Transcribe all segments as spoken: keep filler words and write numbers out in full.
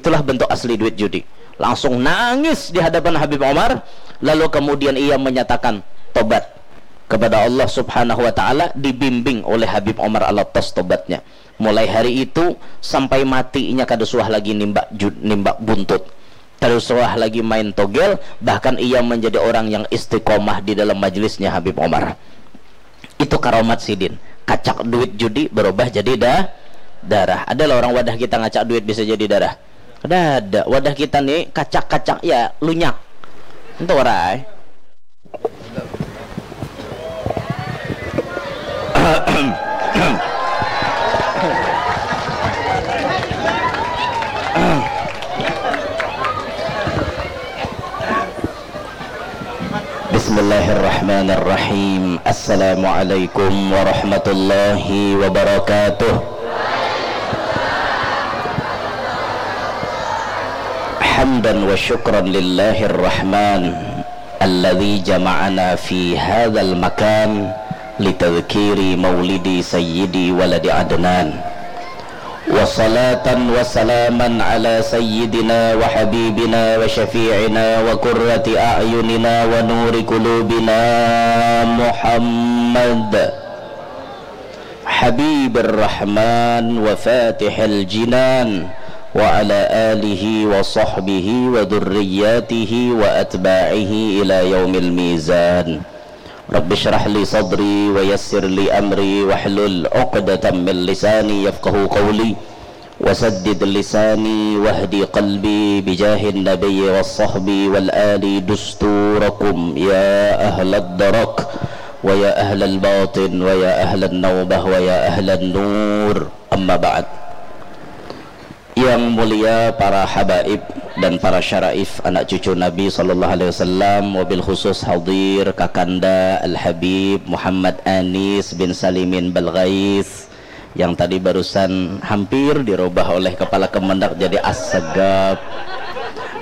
Itulah bentuk asli duit judi. Langsung nangis di hadapan Habib Omar, lalu kemudian ia menyatakan tobat kepada Allah Subhanahu wa Ta'ala, dibimbing oleh Habib Omar Alatas tobatnya. Mulai hari itu sampai matinya kada suah lagi nimbak, nimbak buntut, kada suah lagi main togel, bahkan ia menjadi orang yang istiqomah di dalam majelisnya Habib Omar. Itu karomat sidin. Kacak duit judi berubah jadi da darah. Adalah orang wadah kita ngacak duit bisa jadi darah? Kada ada. Wadah kita ni kacak-kacak ya lunyak. Itu warai. Bismillahirrahmanirrahim. Assalamualaikum warahmatullahi wabarakatuh. Hamdan wa syukran lillahir rahman alladzi jama'ana fi hadzal makan litadzkiri maulidi sayyidi waladi Adnan. Wa salatan wa salaman ala sayyidina wa habibina wa syafi'ina wa qurrati a'yunina wa nuri qulubina Muhammad Habibir Rahman wa Fatihil Jinan wa ala alihi wa sahbihi wa dzurriyyatihi wa atba'ihi ila yaumil mizan. Rabbi shrah li sadri wa yassir li amri wahlul uqdatam min lisani yafqahu qawli. Wasaddid lisani wahdi qalbi bijahin nabiyyi was sahbi wal ali dusturakum ya ahlad darak wa ya ahlal batin wa ya ahlan naubah wa ya ahlan nur. Amma ba'd. Yang mulia para habaib dan para syaraif anak cucu Nabi sallallahu alaihi wasallam, wabil khusus hadir Kakanda Al Habib Muhammad Anis bin Salimin Balgais yang tadi barusan hampir dirubah oleh kepala kemendak jadi Assegap.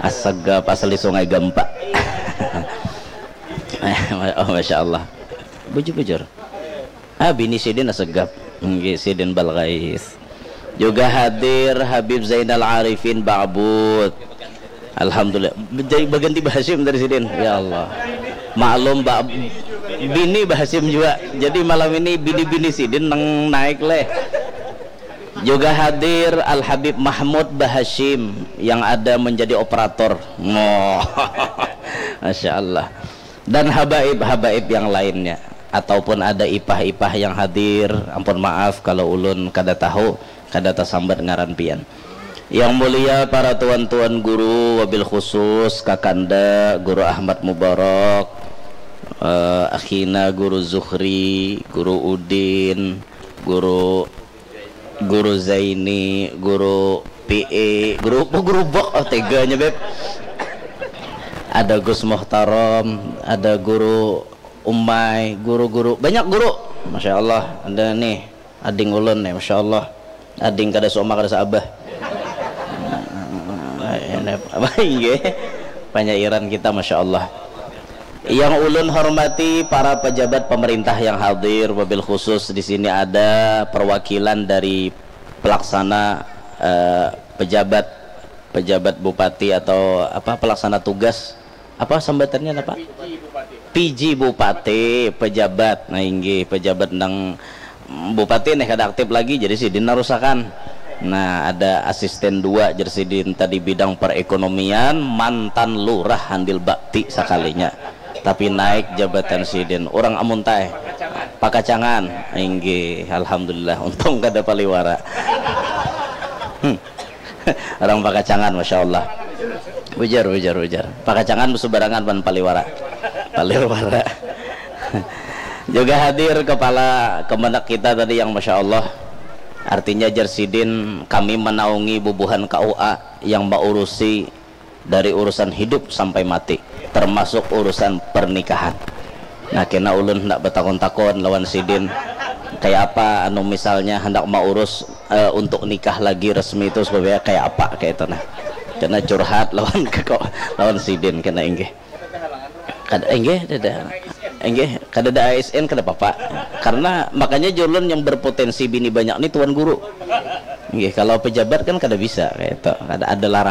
Assegap asli Sungai Gampa. Oh, masya Allah. Bujur-bujur. Ah, bini sidin Assegap. Nggih, sidin Balgais. Juga hadir Habib Zainal Arifin Ba'but. Alhamdulillah. Jadi baganti Bahasim dari sidin. Ya Allah. Maklum, Ba-, bini Bahasim juga. Jadi malam ini bini-bini sidin nang naik leh. Juga hadir Al Habib Mahmud Bahashim yang ada menjadi operator. Oh. Masya Allah. Dan habaib-habaib yang lainnya. Ataupun ada ipah-ipah yang hadir, ampun maaf kalau ulun kada tahu, kada tasambat ngaran pian. Yang mulia para tuan-tuan guru, wabil khusus Kakanda Guru Ahmad Mubarak, eh, Akhina Guru Zuhri, Guru Udin, Guru Guru Zaini, Guru P E, Guru apa, Guru Bok, oh teganya beb. Ada Gus Muhtarom, ada Guru Umai, guru-guru, banyak guru. Masya Allah, ada nih, ading ulun nih, Masya Allah. Ading kada seumah, kada seabah. Ini apa, inggih? Panyairan kita, Masya Allah. Yang ulun hormati para pejabat pemerintah yang hadir, wabil khusus di sini ada perwakilan dari pelaksana, eh, pejabat, pejabat bupati atau apa, pelaksana tugas, apa sambatannya apa? P J bupati, pejabat. Nah, inggih, pejabat nang bupati nih kada aktif lagi, jadi sidin narusakan. Nah, ada asisten dua, jar sidin tadi bidang perekonomian, mantan lurah handil bakti sakalinya. Tapi naik jabatan sidin. Orang amuntai. Pakacangan. Inggih, alhamdulillah. Untung kada paliwara. Hmm. Orang Pakacangan, Masya Allah. Ujar, ujar, ujar. Pakacangan besubarangan pan paliwara. Paliwara. Juga hadir kepala kemendak kita tadi yang Masya Allah. Artinya, jar sidin, kami menaungi bubuhan K U A yang maurusi dari urusan hidup sampai mati, termasuk urusan pernikahan. Nah, kena ulun hendak betakun-takun lawan sidin, kayak apa anu misalnya hendak maurus, eh, untuk nikah lagi resmi itu supaya kayak apa kayak itu nah. Kena curhat lawan keko-, lawan sidin kena inggih. Kada, inggih, kada, inggih, kada ada A S N kada apa-apa. Karena makanya jar ulun yang berpotensi bini banyak ni tuan guru. Inggih, kalau pejabat kan kada bisa kayak itu. Kada ada larangan.